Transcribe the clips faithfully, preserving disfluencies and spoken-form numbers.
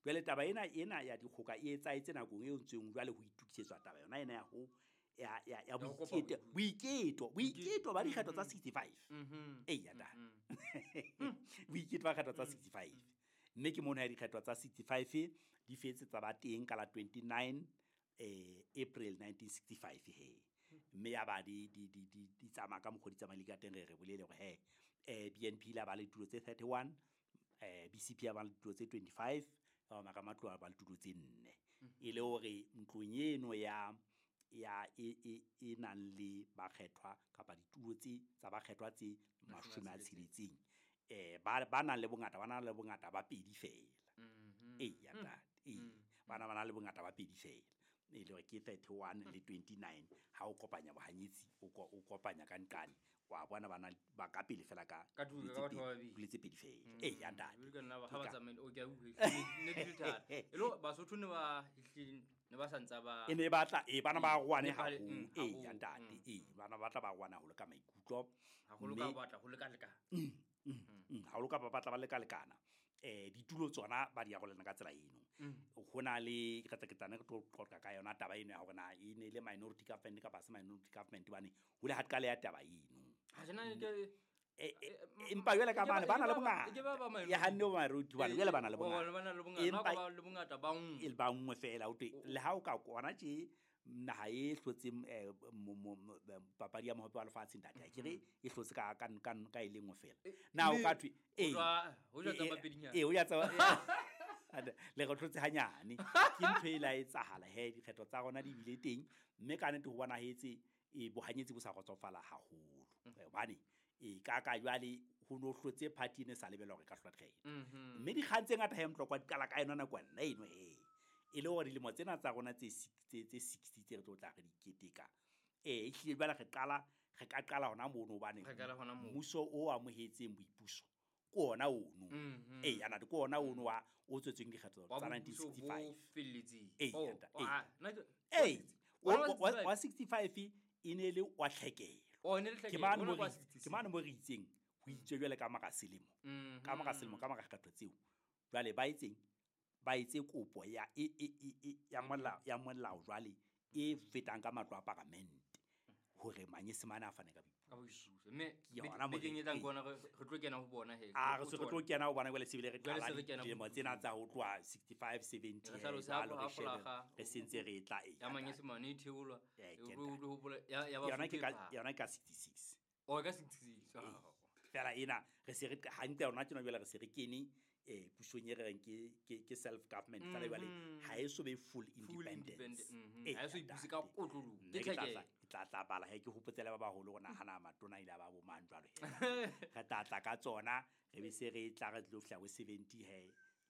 Jwale taba ena ena ya dikgoka e etsahetse nakong eo ntseng jwale ho itokisetswa taba yona ena ya ho ya ya ya boiketo boiketo boiketo ba dikgetho tsa sixty-five. Ee ya ntate. Boiketo ba kgetho tsa sixty-five. Mme ke mona ya dikgetho tsa sixty-five di fetse tsa ba teng ka la twenty-nine eh April nineteen sixty-five he. Mme ya ba di di di di tsamaya ka mokgwa di tsamaile ka teng, re re bolele hore he eh B N P la ba le tulo tse thirty-one, eh B C P ya ba le tulo tse twenty-five, ba ba Matloa ba le tulo tse nne. E le hore ntlong eno ya ya e e e nang le bakgethwa kapa ditulo tse tsa bakgethwa tse mashome a tsheletseng, eh ba ba nang le bongata ba nang le bongata ba pedi fela. Ee ya ntate, ee bana ba nang le bongata ba pedi fela. E le hore ke thirty-one le twenty-nine ha o kopanya bohanyetsi o o kopanya ka nqane wa bona bana ba ka pele fela ka ditulo tse pedi fela. Ee ya ntate. Ke nna ba ha ba tsamaile o ke a utlwe ne ke thata. E lo Basotho ne ba ne ba santsa ba e ne batla e bana ba rwane haholo. Ee ya ntate, ee bana ba tla ba rwana haholo ka maikutlo haholo ka batla ho leka leka. Haholo ka ba batla ba leka lekana. Eh ditulo tsona ba di arolana ka tsela eno. Ho na le re tla ketane re tlo qoqa ka yona taba eno ya hore na e ne le minority government kapa se minority government bane ho le ha qale ya taba eno. Ha jena ke empa jwale ka bana ba na le bongata ya hanne ba minority bana jwale ba na le bongata ba na le bongata ba le bongata ba nngwe e ba nngwe fela o twe le ha o ka kona tje naha e hlotseng papadi ya mohope wa lefatshe ntate a kere e hlotse ka ka ka e lengwe fela na o ka thwe e ho ja tsa pedinyana e ho ya tsa le re hlotse hanyane ke ntho e la etsahala he dikgetho tsa rona di bile teng mme ka nnete ho bonahetse e bohanyetsi bo sa kgotsofala haholo hobane e ka ka jwale ho no hlotse party ne sa lebela hore ka hlola dikgetho mme dikgang tse ngata he mtlokwa di qala ka yona nako nna eno he e le hore dilemo tsena tsa rona tse tse sixty tse re tlo tla re di keteka eh ehlile jwale re qala re ka qala hona mono hobane mmuso o amohetseng boipuso ke ona ono. Ee ana ke ona ono wa o tswetsweng dikgetho tsa nineteen sixty-five ee ee wa sixty-five e ne le wa tlhekelo ke mane mo ke mane mo re itseng ho itswe jwale ka mora selemo ka mora selemo ka mora kgetho tseo jwale ba etseng ba etse kopo ya e e ya molao ya molao jwale e fetang ka matlo a paramente hore manyesemane a fane ka boipuso mme bekeng e tlang kona re tlo kena ho bona he a re se re tlo kena ho bona jwale sebile re qala dilemo tsena tsa ho tloha sixty-five seventy re sentse re tla e ya manyesemane e theolwa o hopola ya ya ba yona ke ka yona ka sixty-six o ka sixty-six fela ena re se re hantle yona tjena jwale re se re kene eh pusong e re reng ke ke self government fela jwale ha e so be full independence ha e so ipuse ka kotlolo ke tla tla tla bala he ke hopotsela ba baholo go nahana matona ile ba bo mang jwalo he re tla tla ka tsona re be se re tla re tlo fihla ho seventy he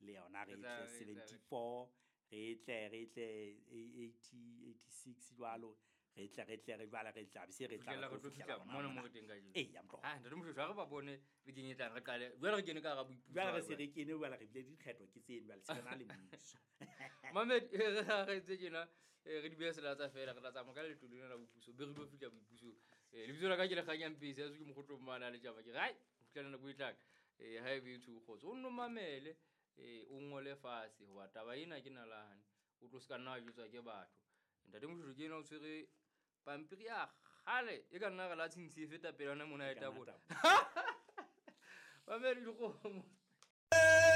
le yona re tle seventy-four re tle re tle eighty eighty-six jwalo re tle re tle re jwale re tla be se re tla re tlo fihla mona mo re teng ka jeno ee ya mtlo ha ntate Moshoeshoe ha re ba bone bekeng e tlang re qale jwale re kene ka hara boipuso jwale re se re kene jwale re bile dikgetho ke tseno jwale se re na le mmuso Mamed re tse tjena re di beha selatsa fela re tla tsamaya ka leeto lena la boipuso be re lo fihla boipuso lebitso la ka ke Lekganyang Pesi ya se ke mokgotlo mmana le tjaba ke re hai ho fihla nako e tlang ha ebe e tsho kgotso o nno mamele o ngole fatshe hoba taba ena ke nalane o tlo se ka nna wa jwetswa ke batho ntate Moshoeshoe ke ena o tshwere pampiri ya kgale e ka nna re la tshintshi e feta pele yona mona e tabola. Mamedi dikgomo.